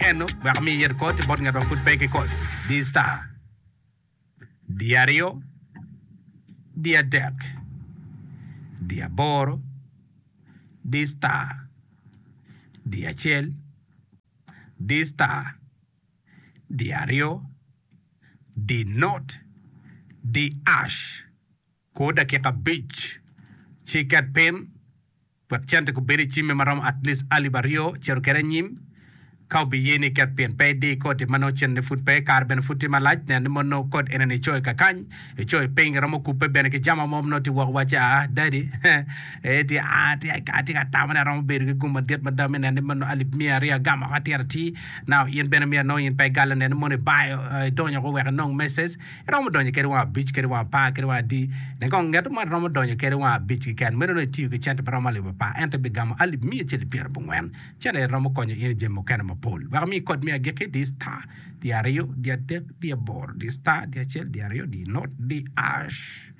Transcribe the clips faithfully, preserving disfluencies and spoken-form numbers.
eno wek mi yet code bot ngat ma pud pe ki code di star di aryo di adek di aboro di star di acel di star di aryo di not di hash kor dakika abic ci ket pin wek cente kubed i cimme maromo at least alip aryo cito kede anyim ka obiye ni ket pin pe idi koti ma nongo cente pud pe kare bene pud tye malac nen ni mono kod enini icoyo kakany icoyo piny iromo kubbe bene ki jama mo nongo tye woko waci aa dadi eh tye aa tye atye ka tamo ni aromo bedo ki gum madit mada me neno ni mono alip miya aryo agamo oko atir atir now in bene myero nongo in pe igale nen ni mono ibayo idonyo oko wek inong message iromo donyo kede wang abic kede wang apar kede wang adi nen kong ngeto mo romo donyo kede wang abic keken meno nongo itiyo ki cente maromo alip apar ento ibigamo alip miya acel ki pyerabongwen cente romo konyo in i jami mukene mapol wek imi kod me agikki di star di aryo di adek di aboro di star di acel di aryo di not di hash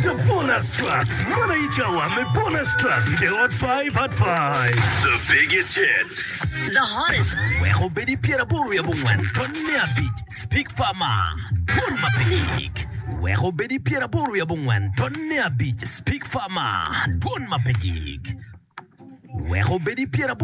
The bonus track. Man aye cawa me bonus track i The Hot Five at Five. The biggest hits. The hottest. Wek obed i pyeraboro wiye abongwen tony me abic Speak Farmer, Dwon ma pe gik. Wek obed i pyeraboro wiye abongwen tony me abic Speak Farmer, Dwon ma pe gik. Wek obed i pyeraboro